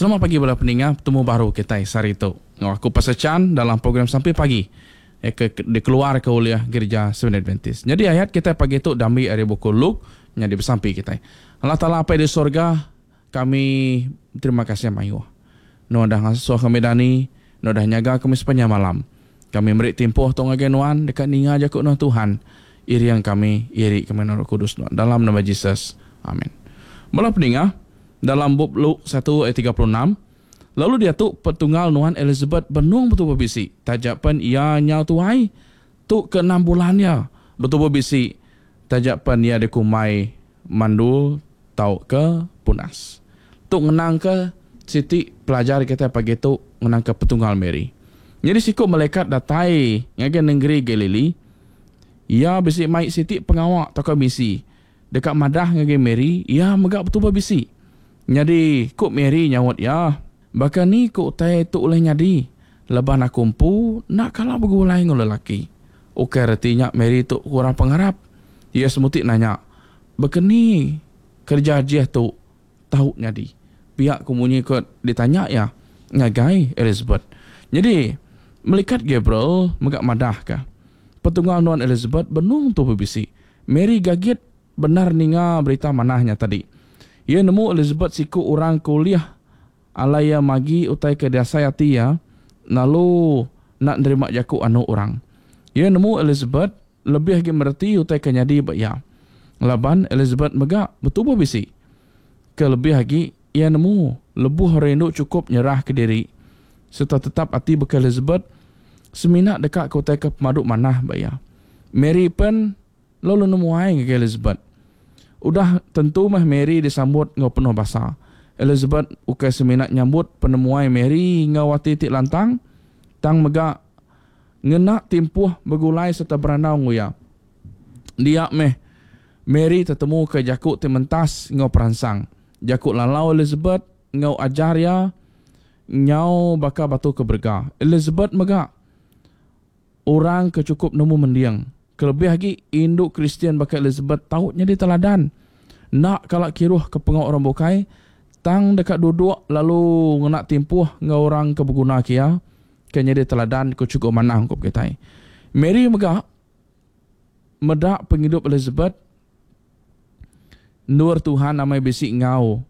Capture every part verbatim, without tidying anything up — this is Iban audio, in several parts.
Selamat pagi bala peninga, betemu baru kitai sehari tu enggau aku Pastor Chan dalam program Sampi Pagi ke dikeluarka ulih Gerija Seventh Adventist. Nyadi ayat kitai pagi tu diambi ari buku Luke, nyadi besampi kitai. Allah Taala Apai di sorga, kami terima kasih mayuh. Nuan udah ngasuh kami dani, Nuan udah nyaga kami sepanjang malam. Kami meri timpuh tu ngagai Nuan deka ninga jaku Nuan Tuhan. Iring kami, iri kami enggau Roh Kudus Nuan. Dalam nama Jesus. Amin. Bala peninga, dalam bup Luke satu ayat tiga puluh enam, lalu diatu petunggal nuan Elizabeth benung betubuh bisi, taja pen iya nyau tuai, tu ke enam bulan iya betubuh bisi, taja pen iya dikumbai mandul tauka punas. Tu ngenangka siti pelajar kitai pagi tu ngenangka petunggal Mary. Nyadi siku malaikat datai ngagai nengeri Galili, iya bisi mai siti pengawa tauka misi deka madah ngagai Mary iya mega betubuh bisi. Nyadi ku Mary nyaut iya, baka ni ku utai tu ulih nyadi laban aku empu enda kala begulai enggau lelaki. Ukai reti nya Mary tu kurang pengarap. Iya semuti nanya, baka ni kereja ajih tu tau nyadi? Pia ku munyi ke ditanya iya ngagai Elizabeth. Nyadi melikat Gabriel mega madahka, petunggal nuan Elizabeth benung tu bebisi. Mary gagit bendar ninga berita manah nya tadi. Iya nemu Elizabeth siku orang ke ulih alai iya magi utai ke diasai ati iya lalu enda nerima jaku anu orang. Iya nemu Elizabeth lebih agi mereti utai ke nyadi ba iya. Laban Elizabeth mega betubuh bisi. Ke lebih agi, iya nemu lebuh orang indu chukup nyerahka diri sereta tetap ati baka Elizabeth semina deka ke utai ke pemadu manah ba iya. Mary pen lalu nemuai ngagai Elizabeth. Udah tentu meh Mary disambut enggau penuh basa. Elizabeth ukai semina nyambut penemuai Mary enggau ati ti lantang, tang mega ngena timpuh begulai sereta berandau enggau iya. Dia meh Mary tetemuka jaku ti mentas enggau peransang. Jaku lalau Elizabeth enggau ajar iya nyau baka batu ke berega. Elizabeth mega orang ke chukup nemu mending. Kelebih agi, indu Kristian baka Elizabeth tau nyadi teladan. Enda kala kiruh ke pengawa orang bukai, tang deka duduk lalu ngena timpuh enggau orang ke beguna ke iya, ke nyadi teladan ke chukup manah ungkup kitai. Mary mega meda pengidup Elizabeth endur Tuhan amai bisi enggau.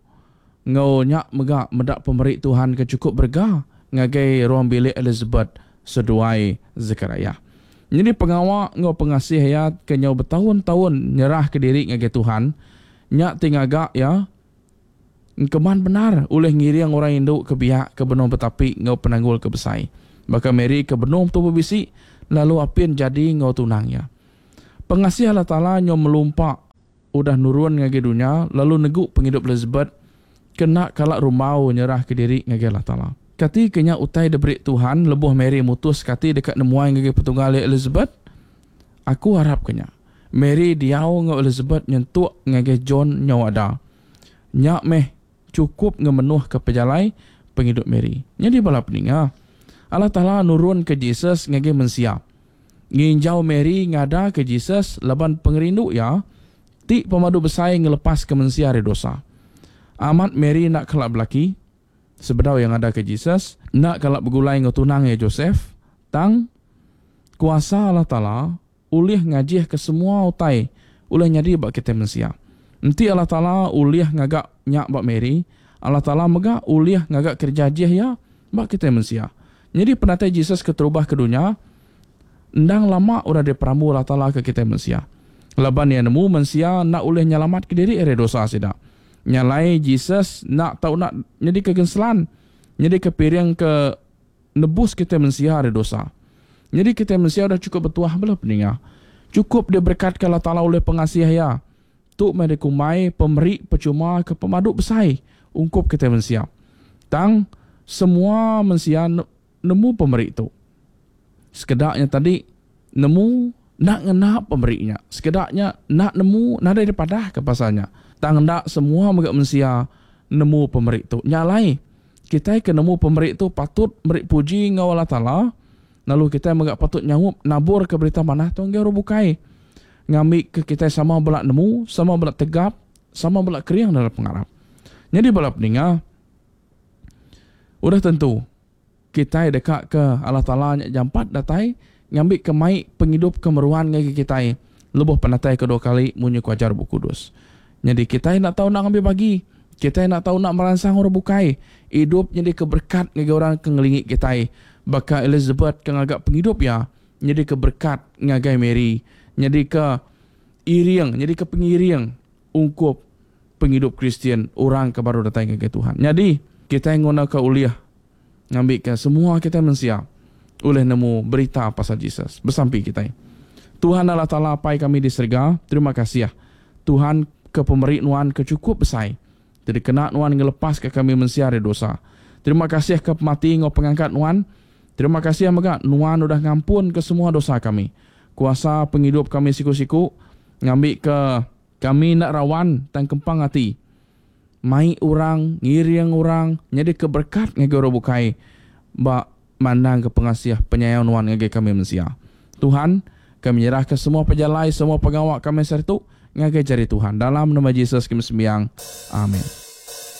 Enggau nya mega meda pemeri Tuhan ke chukup berega ngagai ruang bilik Elizabeth seduai Zekariah. Nyadi pengawa enggau pengasih iya ke nyau betaun-taun nyerahka diri ngagai Tuhan, nya ti ngaga iya engkeman bendar ulih ngiring orang indu ke biak ke benung betapi enggau penanggul ke besai, baka Mary ke benung betubuh bisi lalu apin jadi enggau tunang iya. Pengasih Allah Taala nyau melumpa udah nurun ngagai dunya lalu negu pengidup Elizabeth ke enda kala rumbau nyerahka diri ngagai Allah Taala. Kati ke nya utai diberi Tuhan lebuh Mary mutuska ati deka nemuai ngagai petunggal iya Elizabeth? Aku arapka nya. Mary diau enggau Elizabeth nyentuk ngagai John nyau ada. Nya meh chukup ngemenuhka pejalai pengidup Mary. Nyadi bala peninga, Allah Taala nurunka Jesus ngagai mensia. Nginjau Mary ngadaka Jesus laban pengerindu iya ti pemadu besai ngelepaska mensia ari dosa. Amat Mary enda kala belaki sebedau iya ngadaka Jesus, enda kala begulai enggau tunang iya Joseph, tang kuasa Allah Taala ulih ngajihka semua utai ulih nyadi ba kitai mensia. Enti Allah Taala ulih ngaga nya ba Mary, Allah Taala mega ulih ngaga kereja ajih iya ba kitai mensia. Nyadi penatai Jesus keterubah ke dunya endang lama udah diperambu Allah Taala ke kitai mensia. Laban iya nemu mensia enda ulih nyelamatka diri ari dosa sida. Nya alai Jesus enda tau enda nyadika genselan, nyadika piring ke nebus kitai mensia ari dosa. Nyadi kitai mensia udah chukup betuah bala peninga. Chukup diberekatka Allah Taala ulih pengasih Iya. Tu meh dikumbai pemeri pechuma ke pemadu besai ungkup kitai mensia. Tang semua mensia nemu pemeri tu. Sekeda nya tadi nemu enda ngena pemeri nya. Sekeda nya enda nemu nadai dipadahka pasal nya. Tang enda semua mega mensia nemu pemeri tu. Nya alai, kitai ke nemu pemeri tu patut meri puji enggau Allah Taala, lalu kitai mega patut nyaup naburka berita manah tu ngagai orang bukai ngambika kitai sama bela nemu, sama bela tegap, sama bela kering dalam pengarap. Nyadi bala peninga, Udah tentu kitai deka ke Allah Taala nya jampat datai ngambi ke mai pengidup ke meruan ngagai kitai lebuh penatai kedua kali munyi ku ajar Bup Kudus. Nyadi kitai enda tau enda ngambi bagi, kitai enda tau enda meransang orang bukai idup nyadi ke berkat ngagai orang ke ngelingi kitai baka Elizabeth ke ngaga pengidup iya nyadi ke berkat ngagai Mary, nyadi ke iring, nyadi ke pengiring ungkup pengidup Kristian orang ke baru datai ngagai Tuhan. Nyadi kitai nguna ke ulih ngambi ke semua kitai mensia ulih nemu berita pasal Jesus. Besampi kitai. Tuhan Allah Taala Apai kami di serega, terima kasih Tuhan ke pemeri nuan ke cukup besai. Jadi kena nuan ngelepas ke kami mensia dari dosa. Terima kasih ke pemati ngau pengangkat nuan. Terima kasih mega nuan udah ngampun ke semua dosa kami. Kuasa penghidup kami siku-siku ngambi ke kami nak rawan tang kempang ati. Mai orang, ngiring orang, jadi ke berkat ngagai orang bukai ba mandang ke pengasih penyayang nuan ngagai kami mensia. Tuhan, kami menyerahkan semua pejalai, semua pengawak kami sertu ngagai jari Tuhan. Dalam nama Jesus kami sembiang. Amin.